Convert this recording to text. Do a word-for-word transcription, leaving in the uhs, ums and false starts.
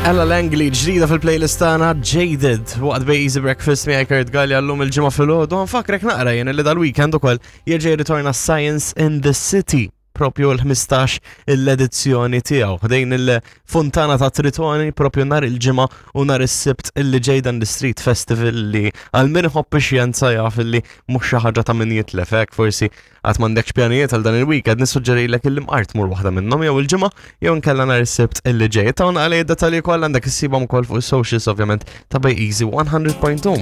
Ella Langley ġdida fil-playlist tagħna Jaded waqt Bay Easy Breakfast miegħi Kurt Gallia llum il-ġimgħa filgħodu. Nfakkrek naqra jien li dal-weekend ukoll jerġa' jirritorna Science in the City propju l-ħmistax l-edizzjoni tiegħu. Ħdejn il-Fontana ta' Tritoni propju nhar il-ġimgħa u nhar is-Sibt illi ġej dan l-Street Festival li għal min iħobb ix-xjenza jaf illi mhux xi ħaġa ta' min jitlef hekk. Forsi għad m'għandekx pjanijiet għal dan il-weekend, nissuġġerilek illi mqar tmur waħda minnhom, jew il-ġimgħa jew nkella nhar is-Sibt illi ġej. Tawna għalej id-dettalji kollha għandek issibhom ukoll fuq is-socials ovvjament ta' Bay Easy one hundred point two.